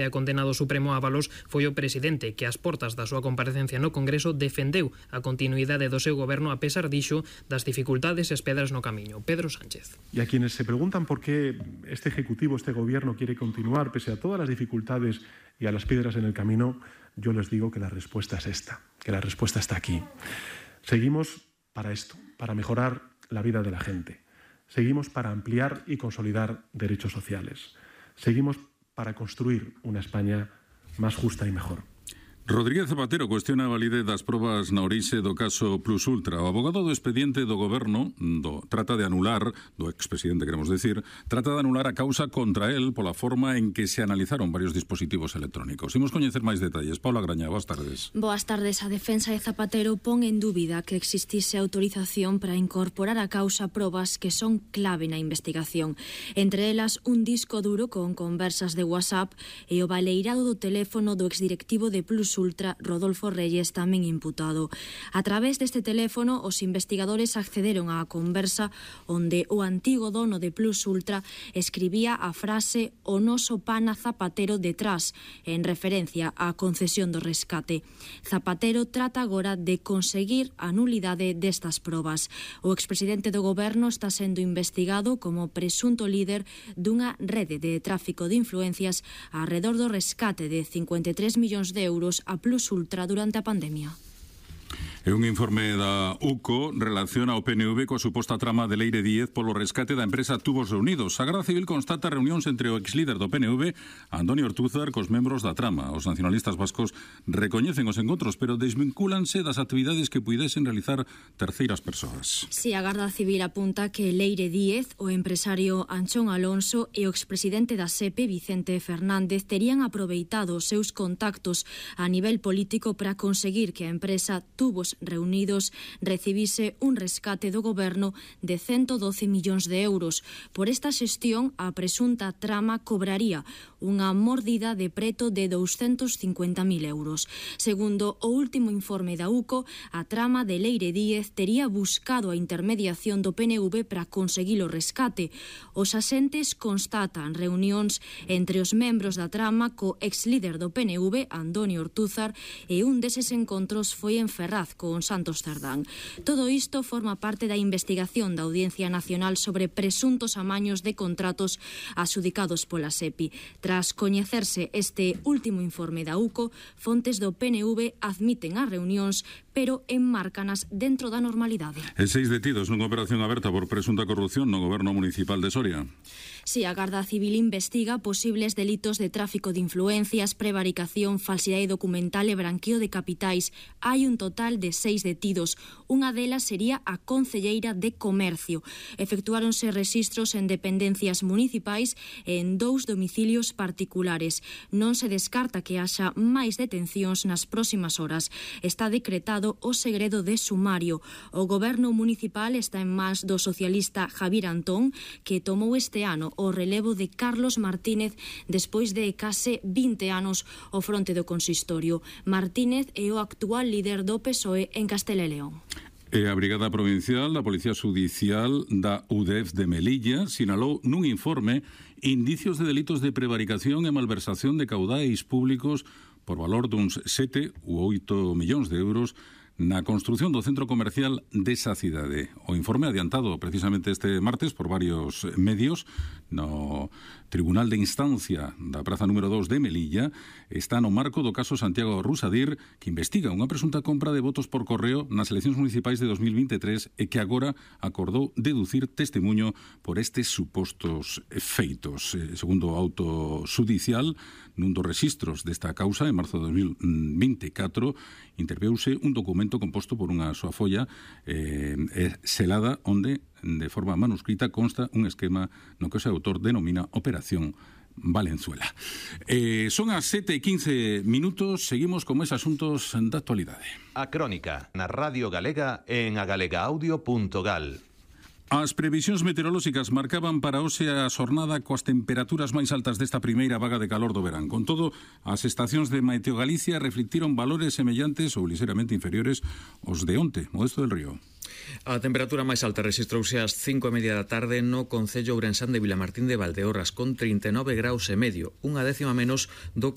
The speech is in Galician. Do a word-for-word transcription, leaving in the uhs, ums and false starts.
A condenado Supremo Ábalos foi o presidente que ás portas da súa comparecencia no Congreso defendeu a continuidade do seu goberno a pesar, dixo, das dificultades e as pedras no camiño. Pedro Sánchez. Y a quienes se preguntan por qué este Ejecutivo, este Gobierno quiere continuar pese a todas las dificultades y a las piedras en el camino, yo les digo que la respuesta es esta, que la respuesta está aquí. Seguimos para esto, para mejorar la vida de la gente. Seguimos para ampliar y consolidar derechos sociales. Seguimos para construir una España más justa y mejor. Rodríguez Zapatero cuestiona a validez das probas na orixe do caso Plus Ultra. O abogado do expediente do goberno do, trata de anular, do expresidente queremos decir, trata de anular a causa contra él pola forma en que se analizaron varios dispositivos electrónicos. Imos coñecer máis detalles. Paula Graña, boas tardes. Boas tardes. A defensa de Zapatero pon en dúbida que existise autorización para incorporar a causa probas que son clave na investigación. Entre elas, un disco duro con conversas de WhatsApp e o baleirado do teléfono do exdirectivo de Plus Ultra, Rodolfo Reyes, tamén imputado. A través deste teléfono, os investigadores accederon á conversa onde o antigo dono de Plus Ultra escribía a frase "O noso pana Zapatero detrás", en referencia á concesión do rescate. Zapatero trata agora de conseguir a nulidade destas probas. O expresidente do goberno está sendo investigado como presunto líder dunha rede de tráfico de influencias arredor do rescate de cincuenta e tres millóns de euros a Plus Ultra durante a pandemia. E un informe da U C O relaciona o P N V coa suposta trama de Leire Díez polo rescate da empresa Tubos Reunidos. A Garda Civil constata reunións entre o exlíder do P N V, Antonio Ortúzar, cos membros da trama. Os nacionalistas vascos recoñecen os encontros, pero desvincúlanse das actividades que puidesen realizar terceiras persoas. Si, a Garda Civil apunta que Leire Díez, o empresario Anchón Alonso e o expresidente da S E P E, Vicente Fernández, terían aproveitado os seus contactos a nivel político para conseguir que a empresa Tubos Reunidos recibise un rescate do goberno de ciento doce millóns de euros. Por esta xestión, a presunta trama cobraría unha mordida de preto de douscentos cincuenta mil euros. Segundo o último informe da U C O, a trama de Leire Díez tería buscado a intermediación do P N V para conseguir o rescate. Os asentes constatan reunións entre os membros da trama co ex-líder do P N V, Antonio Ortúzar, e un deses encontros foi en Ferraz, con Santos Cerdán. Todo isto forma parte da investigación da Audiencia Nacional sobre presuntos amaños de contratos adxudicados pola S E P I. Tras coñecerse este último informe da U C O, fontes do P N V admiten as reunións, pero enmárcanas dentro da normalidade. E seis detidos nunha operación aberta por presunta corrupción no goberno municipal de Soria. Si, a Garda Civil investiga posibles delitos de tráfico de influencias, prevaricación, falsidade documental e branqueo de capitais. Hai un total de seis detidos. Unha delas sería a concelleira de Comercio. Efectuáronse rexistros en dependencias municipais e en dous domicilios particulares. Non se descarta que haxa máis detencións nas próximas horas. Está decretado o segredo de sumario. O goberno municipal está en mans do socialista Javier Antón, que tomou este ano o relevo de Carlos Martínez despois de case vinte anos ao fronte do consistorio. Martínez é o actual líder do P S O E en Castela e León. E a Brigada Provincial da Policía Judicial da U D E F de Melilla sinalou nun informe indicios de delitos de prevaricación e malversación de caudais públicos por valor duns sete ou oito millóns de euros na construción do centro comercial desa cidade. O informe adiantado precisamente este martes por varios medios no Tribunal de Instancia da Praza número dos de Melilla está no marco do caso Santiago Rusadir, que investiga unha presunta compra de votos por correo nas eleccións municipais de dos mil veintitrés e que agora acordou deducir testemunho por estes supostos feitos. Segundo o auto judicial, nun dos registros desta causa, en marzo de dos mil veinticatro, interveuse un documento composto por unha soa folla eh, selada onde de forma manuscrita consta un esquema no que o seu autor denomina Operación Valenzuela. Eh, son as sete e quince minutos, seguimos con máis asuntos da actualidade. A Crónica, na Radio Galega en agalega audio punto gal. As previsións meteorolóxicas marcaban para hoxe a xornada coas temperaturas máis altas desta primeira vaga de calor do verán. Con todo, as estacións de Meteo Galicia reflectiron valores semellantes ou ligeramente inferiores aos de onte. Modesto del Río. A temperatura máis alta rexistrouse ás cinco e media da tarde no concello ourensán de Vilamartín de Valdeorras, con trinta e nove graus e medio, unha décima menos do